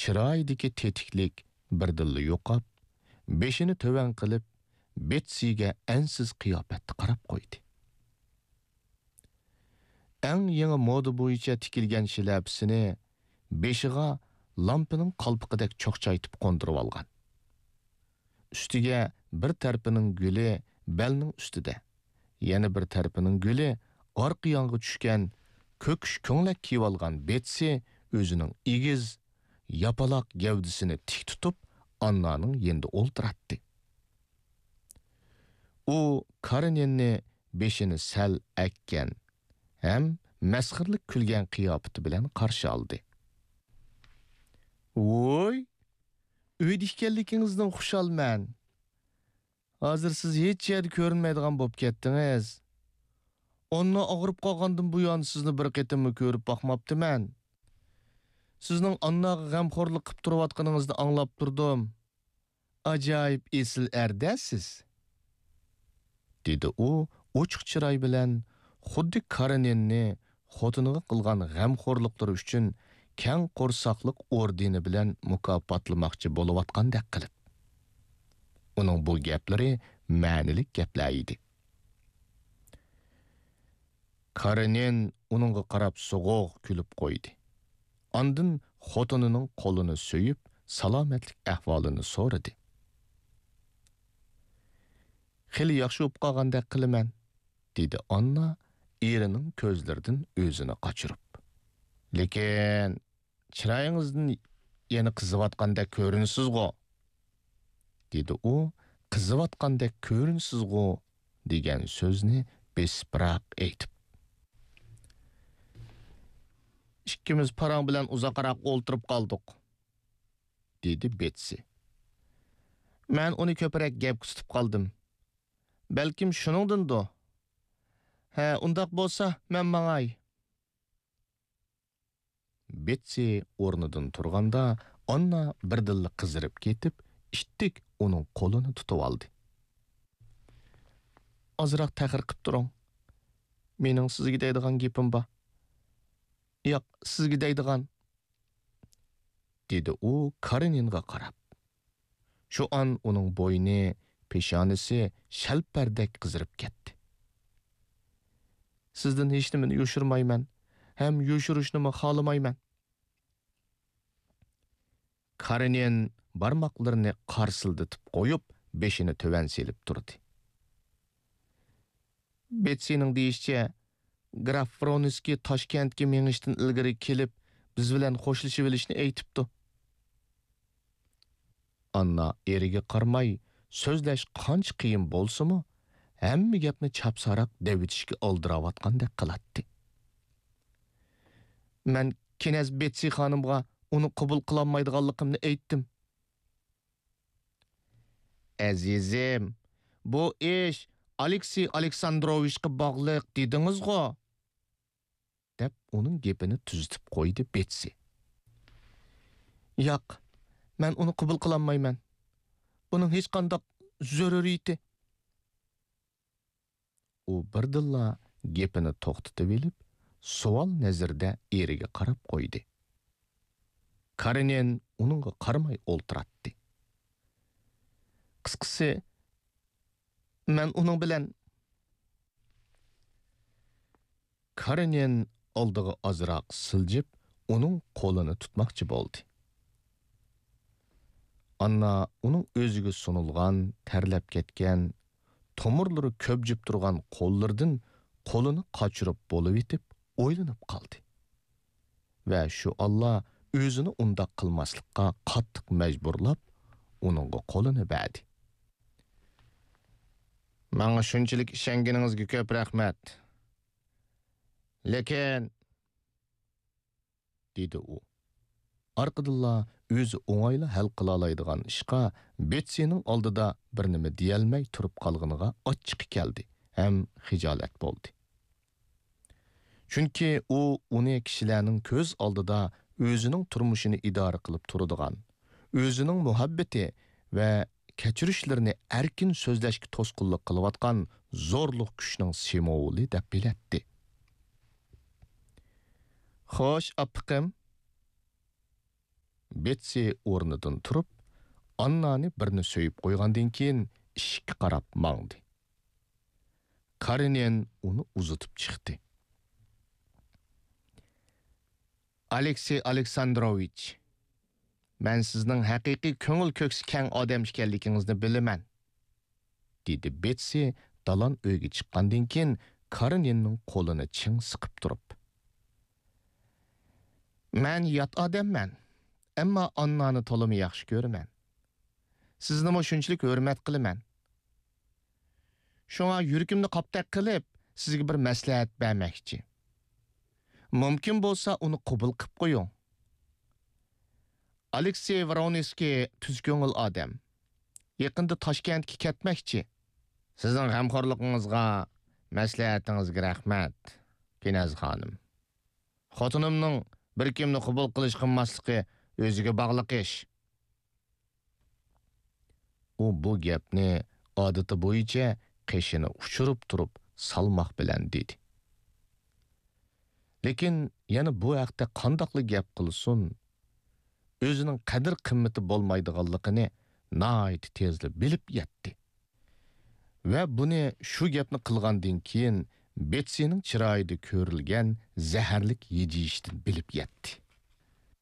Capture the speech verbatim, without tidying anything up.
چىرايىدىكى تېتىكلىك بىردىنلا يوقاپ، بېشىنى تۆۋەن قىلىپ، بېتسىگە ئەنسىز قىياپەتتە قاراپ قويدى. ئەڭ يېڭى مودا بويىچە تىكىلگەن شىلەپىسىنى بېشىغا لامپىنىڭ قالپىقىدەك چوقچايتىپ قوندۇرۇۋالغان. ئۈستىگە بىر تەرىپىنىڭ گۈلى بەلنىڭ ئۈستىدە، يەنە بىر تەرىپىنىڭ گۈلى ئارقا يانغا چۈشكەن كۆكۈش كۆڭلەك كىيىۋالغان بېتسى ئۆزىنىڭ ئېگىز، ياپىلاق گەۋدىسىنى تىك تۇتۇپ، ئاننانىڭ يېنىدا ئولتۇراتتى. ئۇ كارېنىننى بېشىنى سەل ئەگكەن ھەم مەسخىرىلىك كۈلگەن قىياپىتى بىلەن قارشى ئالدى. ۋوي، ئۆيدە ئىكەنلىكىڭىزدىن خۇشالمەن. ھازىر سىز ھېچ يەردە كۆرۈنمەيدىغان بولۇپ كەتتىڭىز. ئاننا ئاغرىپ قالغاندىن بۇيان سىزنى بىر قېتىممۇ كۆرۈپ باقماپتىمەن. سىزنىڭ ئانناغا غەمخورلۇق قىپ تۇرۇۋاتقىنىڭىزنى ئاڭلاپ تۇردۇم. ئاجايىپ ئېسىل ئەر-دە سىز، دېدى ئۇ ئوچۇق چىراي بىلەن، خۇددى كارېنىننى خوتۇنىغا قىلغان غەمخورلۇقلىرى ئۈچۈن كەڭ قورساقلىق ئوردېنى بىلەن مۇكاپاتلىماقچى بولۇۋاتقاندەك قىلىپ. ئۇنىڭ بۇ گەپلىرى مەنىلىك گەپلەر ئىدى. كارېنىن ئۇنىڭغا قاراپ سوغۇق كۈلۈپ قويدى. ئاندىن خوتۇنىنىڭ قولىنى سۆيۈپ، سالامەتلىك ئەھۋالىنى سورىدى. خېلى ياخشى بولۇپ قالغاندەك قىلىمەن، دېدى ئاننا ئېرىنىڭ كۆزلىرىدىن ئۆزىنى قاچۇرۇپ. لېكىن چىرايىڭىزدىن يەنە قىزىۋاتقاندەك كۆرۈنىسىزغۇ؟ دېدى ئۇ قىزىۋاتقاندەك كۆرۈنىسىزغۇ دېگەن سۆزنى بېسىپراق ئېيتىپ. ئىككىمىز پاراڭ بىلەن ئۇزاقراق ئولتۇرۇپ قالدۇق، دېدى بېتسى. مەن ئۇنى كۆپرەك گەپكە تۇتۇپ قالدىم. بەلكىم شۇنىڭدىندۇ؟ ھە، ئۇنداق بولسا، مەن ماڭاي. بېتسى ئورنىدىن تۇرغاندا، ئاننا بىردىنلا قىزىرىپ كېتىپ، ئىتتىك ئۇنىڭ قولىنى تۇتۇۋالدى. ئازراق تەخىر قىپ تۇرۇڭ. مېنىڭ سىزگە دەيدىغان گېپىم بار. ياق، سىزگە دەيدىغان، دېدى ئۇ كارېنىنغا قاراپ. شۇ ئان ئۇنىڭ بوينى، پېشانىسى شەلپەردەك قىزىرىپ كەتتى. سىزدىن ھېچنېمىنى يوشۇرمايمەن ھەم يوشۇرۇشنىمۇ خالىمايمەن. كارېنىن بارماقلىرىنى قارسىلدىتىپ قويۇپ، بېشىنى تۆۋەن سېلىپ تۇردى. بېتسىنىڭ دېيىشىچە، گراف ۋرونسكىي تاشكەنتكە مېڭىشتىن ئىلگىرى كېلىپ، بىز بىلەن خوشلىشىۋېلىشنى ئېيتىپتۇ. ئاننا ئېرىگە قارىماي، سۆزلەش قانچە قىيىن بولسىمۇ، ھەممە گەپنى چاپساراق دەۋېتىشكە ئالدىراۋاتقاندەك قىلاتتى. مەن كىنەز بېتسى خانىمغا ئۇنى قوبۇل قىلالمايدىغانلىقىمنى ئېيتتىم. ئەزىزىم، بۇ ئىش ئالېكسېي ئالېكساندروۋىچقا باغلىق دېدىڭىزغۇ؟ دەپ ئۇنىڭ گېپىنى تۈزىتىپ قويدى بېتسى. ياق، مەن ئۇنى قوبۇل قىلالمايمەن. بۇنىڭ ھېچقانداق زۆرۈرىيىتى. ئۇ بىردىنلا گېپىنى توختىتىۋېلىپ، سوئال نەزىرىدە ئېرىگە قاراپ قويدى. كارېنىن ئۇنىڭغا قارىماي ئولتۇراتتى. قىسقىسى، مەن ئۇنىڭ بىلەن. كارېنىن ئالدىغا ئازراق سىلجىپ، ئۇنىڭ قولىنى تۇتماقچى بولدى. ئاننا ئۇنىڭ ئۆزىگە سۇنۇلغان، تەرلەپ كەتكەن، تومۇرلىرى كۆبجۈپ تۇرغان قوللىرىدىن قولىنى قاچۇرۇپ بولۇۋېتىپ ئويلىنىپ قالدى. ۋە شۇ ئاللا ئۆزىنى ئۇنداق قىلماسلىققا قاتتىق مەجبۇرلاپ، ئۇنىڭغا قولىنى بەردى. ماڭا شۇنچىلىك ئىشەنگىنىڭىزگە كۆپ رەھمەت. لېكىن، دېدى ئۇ. ئارقىدىنلا ئۆزى ئوڭايلا ھەل قىلالايدىغان ئىشقا بېتسىنىڭ ئالدىدا بىر نېمە دېيەلمەي تۇرۇپ قالغىنىغا ئاچچىقى كەلدى ھەم خىجالەت بولدى. چۈنكى ئۇ ئۇنى كىشىلەرنىڭ كۆز ئالدىدا ئۆزىنىڭ تۇرمۇشىنى ئىدارە قىلىپ تۇرىدىغان، ئۆزىنىڭ مۇھەببىتى ۋە كەچۈرۈشلىرىنى ئەركىن سۆزلەشكە توسقۇنلۇق قىلىۋاتقان زورلۇق كۈچنىڭ سىمۋولى دەپ بىلەتتى. خوش، ئاپپىقىم. بېتسى ئورنىدىن تۇرۇپ، ئاننانى بىرنى سۆيۈپ قويغاندىن كېيىن ئىشىككە قاراپ ماڭدى. كارېنىن ئۇنى ئۇزىتىپ چىقتى. ئالېكسېي ئالېكساندروۋىچ، مەن سىزنىڭ ھەقىقىي كۆڭۈل كۆكسى كەڭ ئادەم ئىكەنلىكىڭىزنى بىلىمەن، دېدى بېتسى دالان ئۆيگە چىققاندىن كېيىن كارېنىننىڭ قولىنى چىڭ سىقىپ تۇرۇپ. مەن يات ئادەممەن، ئەمما ئاننانى تولىمۇ ياخشى كۆرىمەن. سىزنىمۇ شۇنچىلىك ھۆرمەت قىلىمەن. شۇڭا يۈرىكىمنى قاپتەك قىلىپ، سىزگە بىر مەسلىھەت بەرمەكچى. مۇمكىن بولسا، ئۇنى قوبۇل قىپ قويۇڭ. ئالېكسېي ۋرونسكىي تۈز كۆڭۈل ئادەم. يېقىندا تاشكەنتكە كەتمەكچى. سىزنىڭ غەمخورلۇقىڭىزغا، مەسلىھەتىڭىزگە رەھمەت، كىنەز خانىم. خوتۇنۇمنىڭ بىر كىمنى قوبۇل قىلىش قىلماسلىقى ئۆزىگە باغلىق ئىش. ئۇ بۇ گەپنى ئادىتى بويىچە قېشىنى ئۇچۇرۇپ تۇرۇپ سالماق بىلەن دېدى. لېكىن يەنە بۇ ھەقتە قانداقلا گەپ قىلسۇن، ئۆزىنىڭ قەدىر-قىممىتى بولمايدىغانلىقىنى ناھايىتى تېزلا بىلىپ يەتتى. ۋە بۇنى شۇ گەپنى قىلغاندىن كېيىن بېتسىنىڭ چىرايىدا كۆرۈلگەن زەھەرلىك ھىجىيىشتىن بىلىپ يەتتى.